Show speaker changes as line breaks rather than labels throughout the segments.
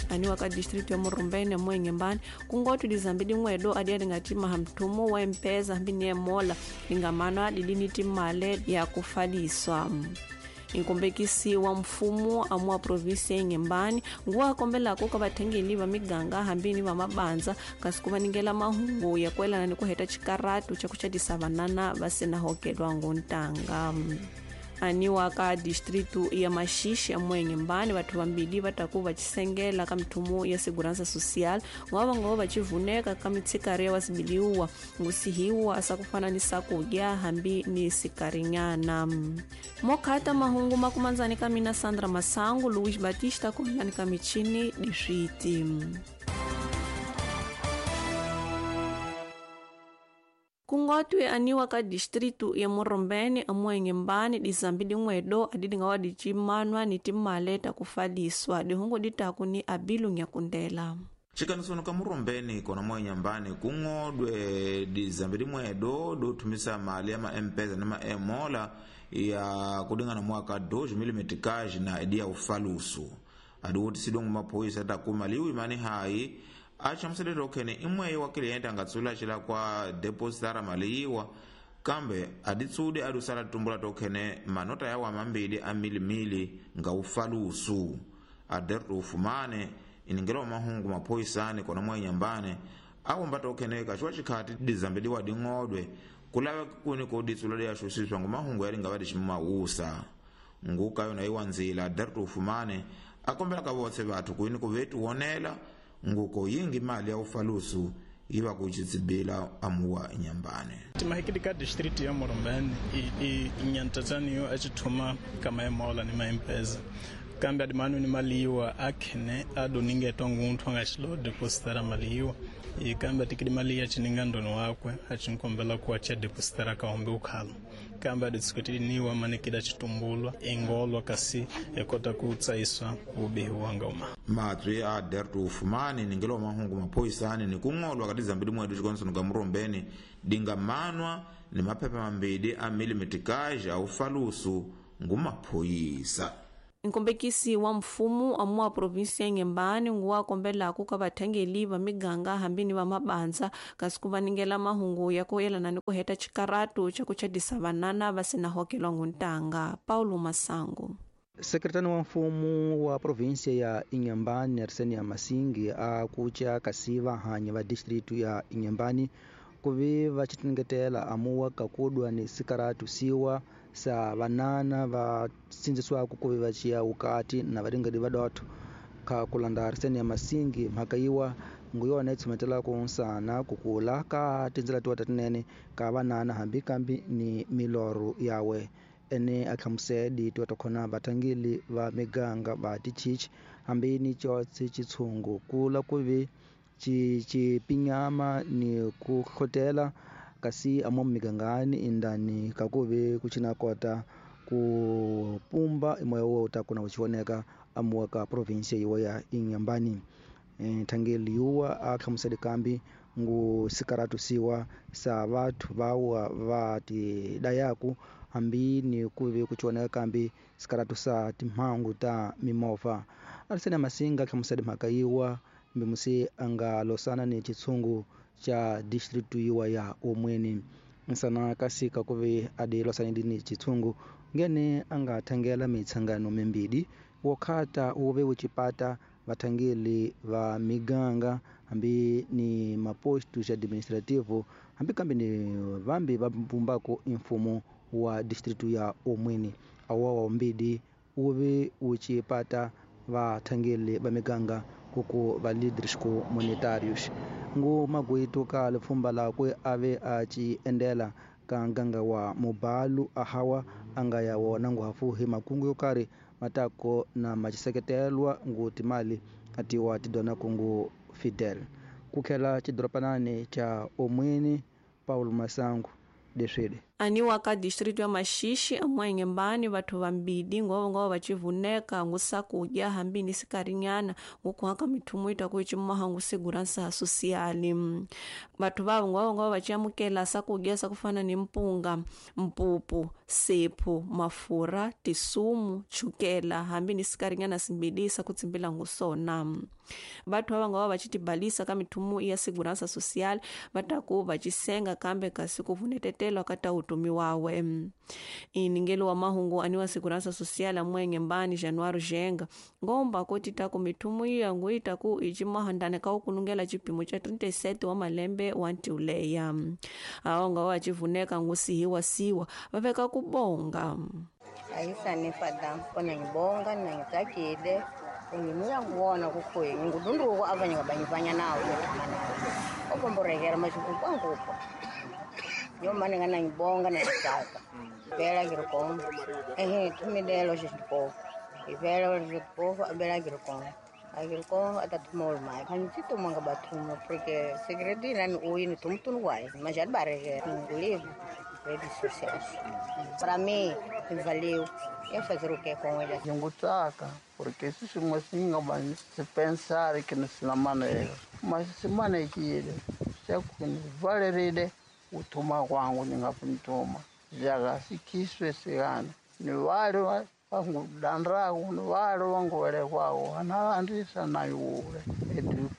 Aniwa ka distrito ya Murumbene Mwenye-Mbani kungoti dizambi dimwedo adi adingatima mthumo wa M-Pesa hambi ni emola dingamanwa didini timale ya kufaliswa. Inkombekisi wa mfumo amu provinsi ya Inhambane nguwa akombelako ka vathengeli va miganga hambini va mabanza kasi ku vaningela mahungu ya kuelana ni ku heta xikaratu xa ku chatisa vanana va sina hokelwa ngontanga. Aniwa ka distrito ya Maxixe ya Mwenye-Mbani vathu vambili va taku va cisengela ka mithumo ya segurança social ngova va ngova va civuneka ka mitshikari ya wasibiliwa ngusihiwa asa kufana ni sakudya hambi ni sikarinyana. Mokhata mahungu makumanzani ka mina Sandra Masangu, Luiz Batista kuhilani ka michini diswiti. Kungotwe aniwa ka distrito ya Murumbene aMwenye-Mbani dizambi dimwedo adidingawa dicimanwa ni timale takufaliswa dihungu ditaku ni abilu nyakundela.
Cikanisoni ka Murumbene kona Mwenye-Mbani kung'odwe dizambi dimwedo dothumisa mali ya ma-M-Pesa na ma-Emola ya kudingana mwaka 2000 na idi ya ufalusu adiwutisidwe ngumaphoyisa takuma liwi mani hayi achamuselele okhene imweyo wa cliente angatsula cila kwa depositara mali iwa kambe aditsude adusala tumbula tokhene manota yawo amambili a milimili nga ufalusu aderto ufumane iningela mahungu maphoyisani kona Mwenye-Mbani awomba tokhene kaciwa cikhati dizambiliwa ding'odwe kulave kuni koditsula liyaxusiswa ngumahungu yalinga dicimawusa nguka yona iwa nzila aderto ufumane akombela ka votse vathu kwini kuvetuwonela nguko yingi mali ya ufalusu iva kuchitsibila amuwa Inhambane.
Timahikidi ka district ya Murumbene i nyantataniyo achithuma ka maimola ni ma-M-Pesa kambe adimanu ni maliwa akhene adoningetwa ngunthu angachilo depositara maliwa i kambe atikidi mali ya chininga ndoni wakwe achinkombela kuwa cha depositara kaombe ukhala kambe aditsikutiniwa manikida chitumbulwa ingolwa kasi ekota kutsaiswa ubihi wanga uma
matswi a dertu ufumani ningelo mahungu maphoyisani ni kung'olwa kati zambili mwedu chikonisoni ka Murumbene dingamanwa ni maphepha mambili a milimitikaji a ufalusu ngumaphoyisa.
Nkombekisi wa mfumo amuwa provinsi ya Inhambane nguwa akombelako ka vathengeli va miganga hambini va mabanza kasi ku vaningela mahungu ya kuyelana ni ku heta xikaratu xa ku chatisa vanana va sina hokelwa nguntanga. Paulo Masangu.
Sekretari wa mfumo wa provinsia ya Inhambane Arsenia Masingi a kucha kasi vahanyi va distritu ya Inhambane kuvi va xitingetela amuwa kakudwa ni sikaratu siwa sa vanana va sindzisiwaka kuvi va ciya wukati na varingedi va dotho kha kulanda Arsenia Masingi mhaka yiwa nguyona yi tshumetelaka nsana kukula ka tindzela tiwa ta tinene ka vanana hambi kambi ni milorho yawe ene a hlamusedi tiwa ta khona vathangeli va miganga va tichichi hambi ni cotsi chitshungu kula kuvi cipinyama ni ku hlotela kasi amo migangani indani kakuve kuchina kota ku pumba imoya wo ta kuna uchioneka amuwa ka province yiwa ya Inhambane. Thangeli yuwa a hlamuseli kambi ngu sikaratu siwa sa vathu vawa va tidayaku hambi ni kuve kuchioneka kambi sikaratu sa timhangu ta mimovha. Arsenia Masinga hlamuseli mhaka yiwa mbimusi anga losana ni chitshungu cha district yiwa ya Omweni nsana kasika kuve adi losana ni chitshungu ngene anga thangela mitsangano mimbili wokhata uve uchipata vathangeli va miganga hambi ni maposto ya administrativo hambi kambi ni vambi va mpumbako mfumo wa district ya Omweni awa wa mbidi uve uchipata vathangeli va miganga kuku va líderes comunitários ngu magwitu ka lipfumba lakwe ave a ci endela ka nganga wa mubalu ahawa anga ya wona nguhafu hi makungu yo karhi matako na maciseketelwa ngu timali atiwa tidona kungu Fidel kukhela cidoropanani cha Omweni. Paulo Masangu deswede.
Aniwa ka distrito ya Maxixi amuenhembani vathu vambidi ngova vacivuneka ngusakudya hambi ni sikarinyana ngukuhaka mithumu itaku icimaha ngusegurança social. Vathu vavo ngova vaciamukela sakudya sakufana ni mpunga, mpupu, sephu, mafurha, tisumu, chukela hambi ni sikarinyana simbidi sakutsimbila ngusona. Vathu ava ngova vacitibalisa ka mithumu ya segurança social vataku vacisenga kambe kasi kuvunetetela kata utumi wawe. Iningelo wa mahungu aniwa segurança social amwenye mbani Januário Jenga ngomba koti taku mithumu iya nguitaku icimahandane ka ukunungela cipimo ca 37 wa malembe wa ntiuleya. Awo nga wacivuneka ngusihiwa siwa vaveka kubonga.
Ayisanifada kona ngibonga nangitsakile ungimuya ngubona kukhuye ngudunduko abanye ngabanyivanya nawo nethuma nawo obomborekera mashikunkwangupo yomane ngana ngibonga nangitsaka vela ngirikomba ehe thumilelo xixikofu ivela xixikofu abela ngirikomba agiriko atathuma olumai khantituma nga bathuma porque segredo inani uyi ni thumutunu waye mas já barreira livre redes sociais para mim valeu ia fazer o que com ele.
Ngutaka porque se singa se pensar que não se maneira mas se manekile se valerile uthuma kwangu ningapuntuma jaga sikiswe sikana ni wale vangudandraku ni wale vanguvelekwaku analandisa nayule edi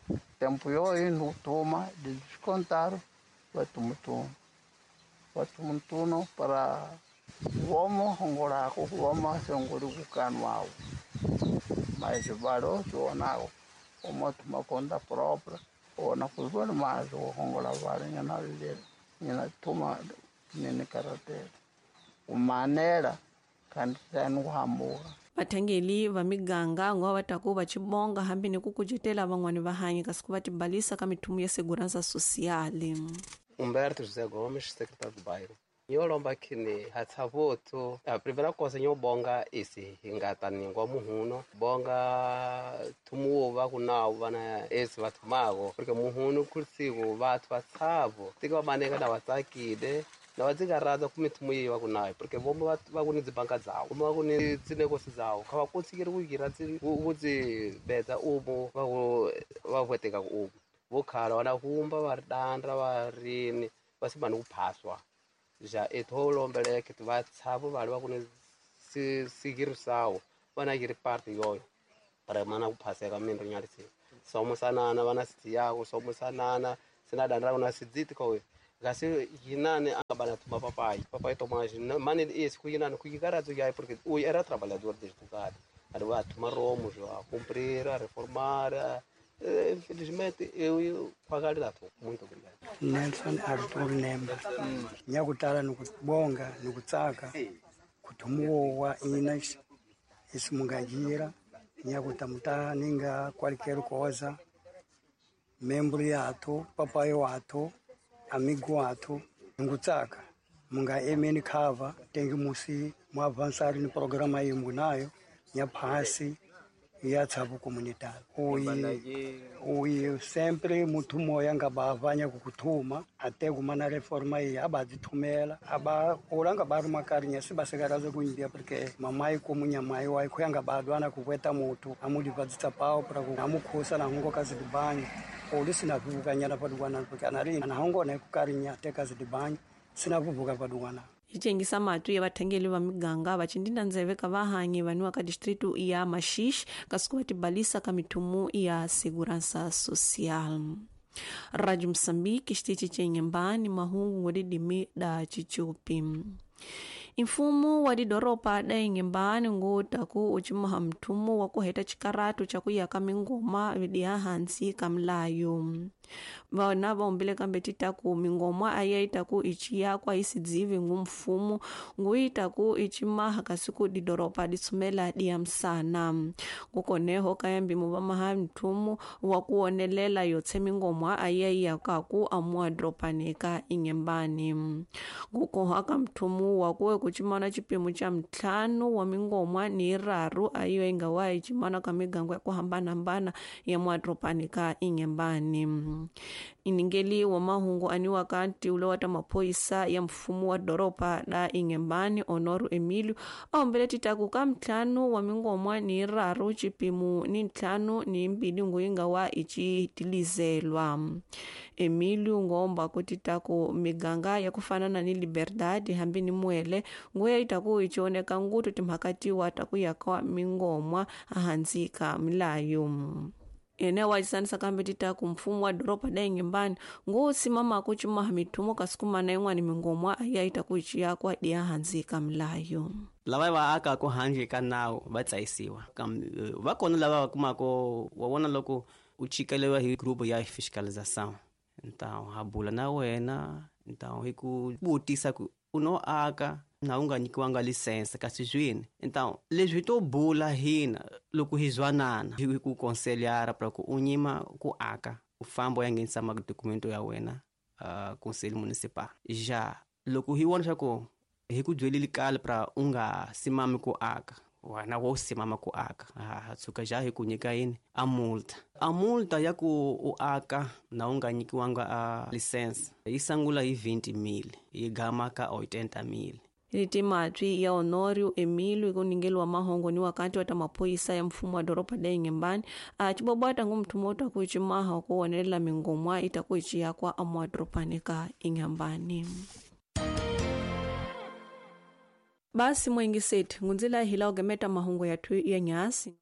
tempo yoyi nutuma de descontar vatumutuma vatumutunu para vomo hongolako vomo sengoli kukanwawo mas valo sionako omotuma conta própria ona kuzivona mazi wohongola vale nyanalile nyanatuma nini karatela umanela kandi kuhambuka.
Vathangeli va miganga ngova vataku vacibonga hambi ni kukucetela van'wani va hanyi kasi ku va tibalisa ka mithumu ya segurança social.
Humberto José Gomes, secretário do bairro. Nyolomba kini hatsavoto a primeira coisa nyobonga isi hingata ningwa muhuno bonga tumuwo vakunawo vana esi vathumako porque muhuno kurisiku vathu vatsavo tika vamaneka na vatsakile na vatsikaradza ku mithumu yeyi vakunayo porque vomo vakuni dzibanka dzawo vomo vakuni dzinekosi dzawo kha vakotsikiri kuyira kudzibedza umu vavueteka umu vokhala vana humba va ri dandra va rini va simani ku phaswa já etho lombeleke va tshavo vale va ku ni sigirisawo vana yiri parte yoyo para mana ku phaseka minri nyalisi somusanana vana sitiyako somusanana sina dandra na sidziti ko kasi yinani anga bana tuma papai papai tomage mani esse ku yinani ku yikaradzo yayi porque o era trabalhador desde o cara ali va tuma romos a cumprir a reformar a, infelizmente eu pagar dato. Muito obrigado.
Nelson Arthur Nemba. Nyakutala nukubonga nukutsaka kutumuwa ina isimungajira nyakutamuta ninga qualquer coisa membro yato papai wato amigo wato ngutsaka munga emeni cover tengi musi mu avançar ni programa yimunayo nyaphasi ya tsavu comunitário. Uyi sempre muthu moya nga bavanya kukuthuma até kumana reforma iyi abadzithumela aba ulanga bari makarinya sibasekaraze kuimbia porque mamai kumunyamai wai khuyanga badwana kukweta muthu amulivadzitsa pao para amukhusa nahungo kazidibanya uli sinavuvukanyana padukwana porque anari nahungo naikukarinya te kazidibanya sinavuvuka padukwana.
Icengisa matu ya vathengeli va miganga vacindinda ndzeve ka vahanyi vaniwa ka distrito ya Maxixi kasi ku va tibalisa ka mithumu ya segurança social. Rádio Moçambique, xitichi cenhembani mahungu ngudidimi da chichupi. Mfumo wa didoropa da inhembani ngutaku ucimaha mthumu wa kuheta cikaratu ca kuyaka mingoma vidiha hansi ka mlayo. Vana vaombile kambe titaku mingoma ayaitaku iciyakwa isidzivi ngu mfumo nguitaku icimaha kasi ku didoropa ditsumela diya msana. Ngukoneho kayambimu vamaha mthumu wa kuonelela yotse mingoma ayaiyakaku amua doropanika inhembani. Ngukoha ka mthumu wa kuwe Kucimana cipimo ca ntlhanu wa mingomwa ni raru ayiyo ingawa icimana ka migango ya kuhambanahambana ya mwadropani ka Inhambane. Iningeli wa mahungu aniwa ka ntiulo wa ta maphoyisa ya mfumo wa doroba la Inhambane Honoro Emilio aombele titaku ka ntlhanu wa mingomwa ni raru cipimo ni ntlhanu ni mbili nguyinga wa icitilizelwa. Emilio ngomba kutitaku miganga ya kufanana ni Liberdade hambi ni Muele nguya itaku ichioneka ngutu timhakatiwa takuyaka mingomwa ahansi ka milayo. Ene wacisanisa kambe titaku mfumo wa doroba la Inhambane nguusimama kucimaha mithumo kasikumana yin'wana mingomwa ya itaku iciyakwa diya hansi ka milayo.
Lava va akaka handle ka nawu va tsayisiwa, va kona lava va kumaka wa vona loko u chikeliwa hi group ya fiscalização, então ha bula na wena, então hi ku vutisa ku u no aka na u nga nyikiwanga lisense kasi swini. Então leswi to bula hina loko hi zwanana hi ku konselhara pra ku u nyima ku aka u famba u ya nghenisa madokumento ya wena conselho municipal. Ja loko hi vona swa ku hi ku byelile kale pra u nga simami ku aka, wena wo simama ku aka, ha tshuka ja hi ku nyika yini a multa. A multa ya ku u aka na u nga nyikiwanga a lisense yi sungula hi 20,000 yi gama ka 80,000.
Litimatwi ya Honorio Emilio ikuningeliwa mahongo ni wakati wa ta maphoyisa ya mfumo wa doroba la Inhambane acibobwata ngumthumo utakuicimaha kuwonelela mingomwa itakuiciyakwa amwadropani ka Inhambane. Basi mwengiseti ngunzila hila ugemeta mahungu yathu ya nyasi.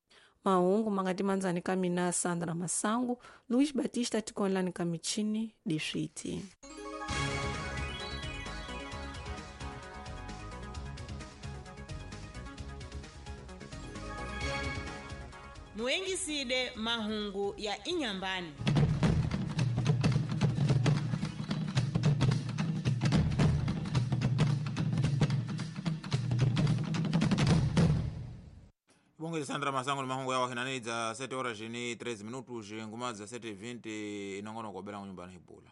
Mahungu mangati manzani ka mina Sandra Masangu, Luis Batista tikonlani ka michini diswiti.
Muengiside mahungu ya Inhambane.
Bonge Sandra Masango ni mahungu yawa hinani za 7 horas ni 3 minutos nguma za 7:20 inongono kwa bela nyumbani hibula.